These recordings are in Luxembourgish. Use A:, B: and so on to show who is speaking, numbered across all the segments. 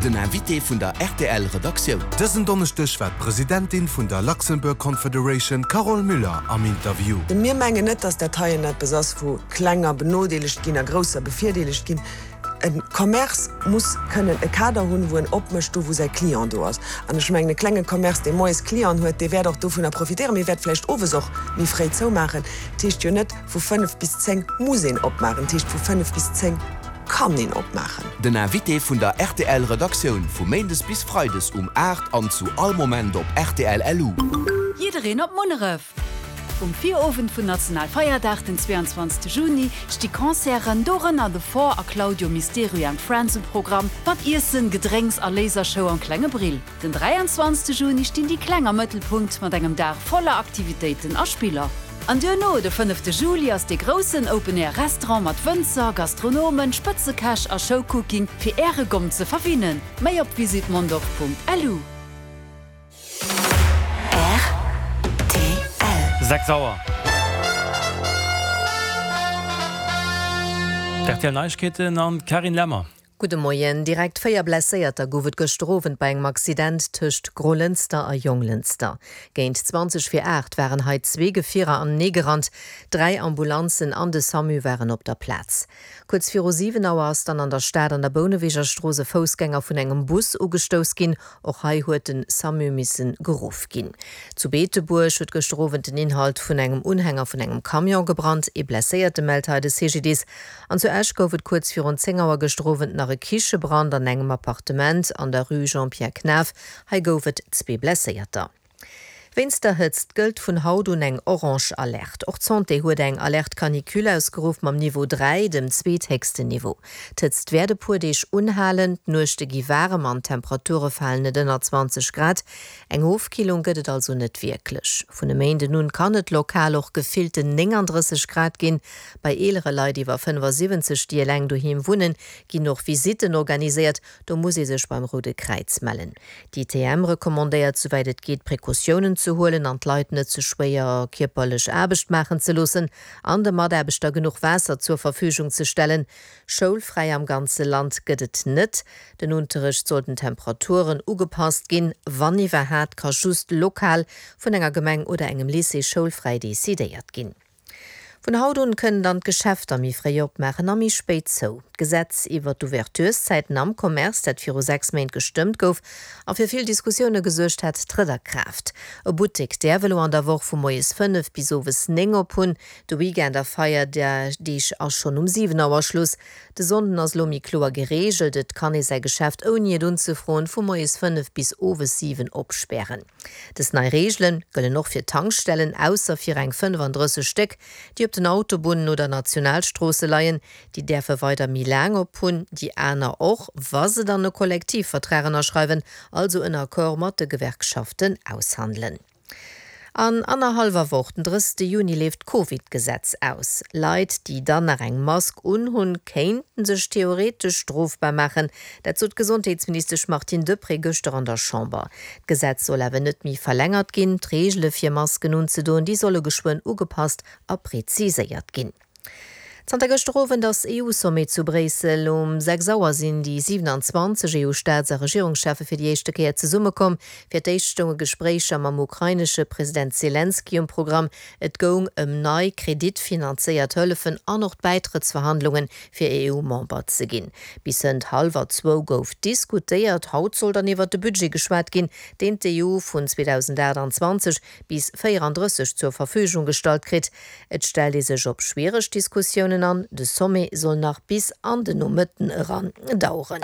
A: Den Invité vun der rtl Redaktioun.
B: Dësen Donneschdeg war d'Presidentin vun der Luxembourg Confederation Carole Müller am Interview.
C: Mir mengen net, datt dat heien eppes ass, wou Klenger benodeelegt ginn a Grousser bevirdeelegt ginn. E Commerce muss kënnen e Kader hunn, wou en opmécht, do wou säi Client do ass. An ech mengen, e klenge Commerce, dee moies Clienten huet, dee wäert och dovunner profitéieren, mee wäert vläicht owes och méi fréi zoumaachen. Dat heescht jo net, vu 5 bis 10 muss een opmaachen. Dat heescht, vu 5 bis 10 kann een opmaachen.
A: Den Invité vun der rtl Redaktioun vu Méindes bis Freides um 8 an zu all Moment op rtl LU.
D: Jiddereen op Munneref! Um Virowend vun Nationalfeierdag, den 22 Juni, sti Concerten, dorënner The Four a Claudio Misterio and Friends um Programm, mat Iessen, Gedrénks a Lasershow am Klenge Brill. Den 23 Juni stinn déi Kleng am Mëttelpunkt mat engem Dag voller Aktivitéiten a Spiller. An duerno, de fënnefte Juli, ass dee groussen Open Air Restaurant mat Wënzer, Gastronomen, Spëtzekäch a Showcooking fir Äre Gomm ze verwinnen. Méi op visitmondorf.lu.
E: Rtl.
F: 6 Auer. D'RTL Neiegkeeten an d'Carine Lemmer.
G: Gudde Moien. Direkt 4 Blesséierter gouf et gëschter Owend bei engem Accident tëscht Grolënster a Jonglënster. Géint 20 vir 8 waren hei zwee Gefierer anenee gerannt. Dräi Ambulanzen an de Samu waren op der Plaz. Kuerz viru 7 Auer ass dann an der Stad an der Bouneweger Strooss e Foussgänger vun engem Bus ugestouss ginn. Och hei huet den Samu missen geruff ginn. Zu Beetebuerg huet gëschter Owend den Inhalt vun engem Unhänger vun engem Camion gebrannt. Ee Blesséierte mellt hei de CGDIS. An zu Esch gouf et kuerz virun 10 Auer gëschter Owend nach e Kichebrand an engem Appartement an der Rue Jean-Pierre Knaff. Hei gouf et zwee Blesséierter. Wéinst der Hëtzt gëllt vun haut un eng orange Alerte. Och d'Santé huet eng Alerte canicule ausgeruff mam Niveau 3, dem zweethéchsten Niveau. D'Hëtzt wäert e puer Deeg unhalen, d'Nuechte gi waarem an d'Temperature falen net ënner 20 Grad. Eng Ofkillung gëtt et also net wierklech. Vun e Méinden un kann et lokal och gefillten 39 Grad ginn. Bei eelere Leit iwwer 75, déi eleng doheem wunnen, ginn och Visitten organiséiert. Do muss ee sech beim Roude Kräiz mellen. D'ITM recommandéiert, souwäit et geet, Precautiounen ze huelen an d'Leit net ze schwéier kierperlech Aarbecht maachen ze loossen an de Mataarbechter genuch Waasser zur Verfügung ze stellen. Schoulfräi am ganze Land gëtt et net. Den Unterrecht soll den Temperaturen ugepasst ginn. Wann iwwerhaat, ka just lokal vun enger Gemeng oder engem Lycée schoulfräi decidéiert ginn. Vun haut un kënnen dann d'Geschäfter méi fréi opmaachen a méi spéit zou. D'Gesetz iwwer d'Ouvertureszäiten am Commerce, dat viru 6 Méint gestëmmt gouf a fir vill Diskussioune gesuergt hat, trëtt a Kraaft. E Buttek däerf elo an der Woch vu moies 5 bis owes 9 op hunn. De Weekend a Feierdeeg ass schonn um 7 Auer Schluss. De Sonnden ass elo méi kloer gereegelt, et kann ee säi Geschäft ouni et unzefroen vu moies 5 bis owes 7 opspären. Dës nei Reegele gëllen och fir Tankstellen, ausser fir eng 35 Stéck, déi op den Autobunnen oder Nationalstroosse leien. Déi däerfe weider méi laang op hunn, déi aner och, wa se dann e Kollektivvertrag ënnerschreiwen, also en Accord mat de Gewerkschaften aushandelen. An annerhallwer Woch, den 30 Juni, leeft d'Covid-Gesetz aus. Leit, déi dann nach eng Mask unhunn, kéinten sech theoretesch strofbar maachen. Dat sot d'Gesondheetsministesch Martine Deprez gëschter an der Chamber. D'Gesetz soll awer net méi verlängert ginn. D'Reegele fir Masken unzedoen, déi solle geschwënn ugepasst a preziséiert ginn. Zanter gëschter Owend ass EU-Sommet zu Bréissel. Um 6 Auer sinn déi 27 EU-Staats a Regierungscheffe fir déi éischte Kéier zesummekomm. Fir d'éischt stounge Gespréicher mam ukrainesche President Selenskyj um Programm. Et goung ëm nei kreditfinanzéiert Hëllefen an och d'Bäitrëttsverhandlungen fir EU-Member ze ginn. Bis hënt hallwer zwou gouf diskutéiert. Haut soll dann iwwert de Budget geschwat ginn, deen d'EU vun 2028 bis 34 zur Verfügung gestallt kritt. Et stellt ee sech op schwiereg Diskussiounen an. De Sommet soll nach bis an den Nomëtten eran daueren.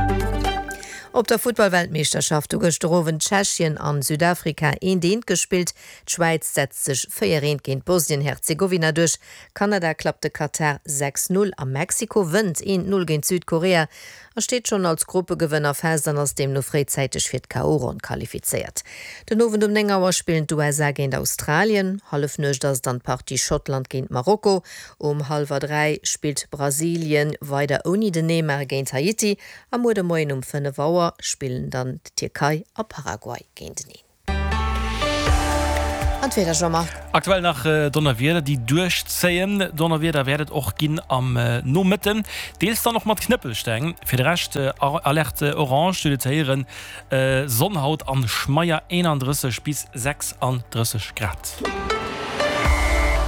G: Op der Futtball-Weltmeeschterschaft hu gëschter Owend Tschechien an Südafrika eent eent gespillt. D'Schwäiz setzt sech 4 eent géint Bosnien-Herzegowina duerch. Kanada klappt de Katar 6, 0 a Mexiko wënnt 1, 0 géint Südkorea a steet schonn als Gruppegewënner fest an ass deemno fréizäiteg fir d'KO-Ronn qualifizéiert. Den Owend um 9 Auer spillen d'USA géint Australien, Hallefnuecht ass et dann d'Partie Schottland géint Marokko, um hallwer 3 spillt Brasilien weider ouni den Neymar géint Haiti a muer de Moien um 5 Auer spillen dann d'Tierkei a Paraguay géinteneen. An d'Wieder, Jean-Marc?
F: Aktuell nach Donnerwieder, déi duerchzéien. Donnerwieder wäert et och ginn am Nomëtten, deels dann och mat Knëppelsteng. Fir de Rescht Alerte orange, du huet et héieren, Sonn haut an schmeier 31 bis 36 Grad.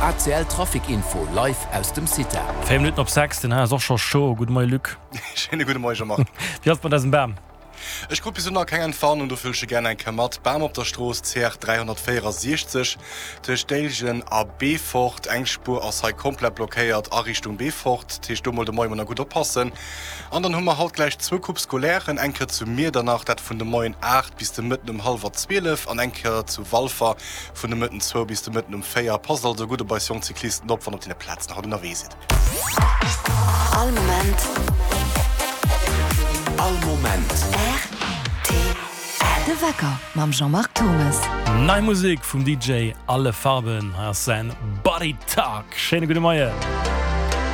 A: ACL Trafic Info live aus dem CITA.
F: 4 Minutten op 6, den hei ass och scho chaud. Gudde Moie Luc.
E: Schéine gudde Moie Jean-Marc.
F: Wéi ass et mat eisem Bam?
E: Ech krut bis elo nach keng Entwarnung, dofir huele ech e gären eng Kéier mat. Bam op der Strooss CR 364 tëscht Déiljen a Beefort. Eng Spuer ass hei komplett blockéiert a Richtung Beefort. Dat heescht do mol de Moie mol nach gutt oppassen. An dann hu mer haut gläich zwou Coupes scolairen, eng Kéier zu Miedernach, dat vun de Moien 8 bis de Mëtten um hallwer 12 an eng Kéier zu Walfer vun de Mëtten zwou bis de Mëtten um 4. Passt also gutt op eis jonk Cyclisten op, wann der op deene Plazen haut ënnerwee sidd.
A: All Moment. All Moment.
D: Rtl. De Wecker mam Jean-Marc Thomes.
F: Nei Musek vum DJ Alle Farben, hei ass säin Body Talk. Schéine gudde Moien.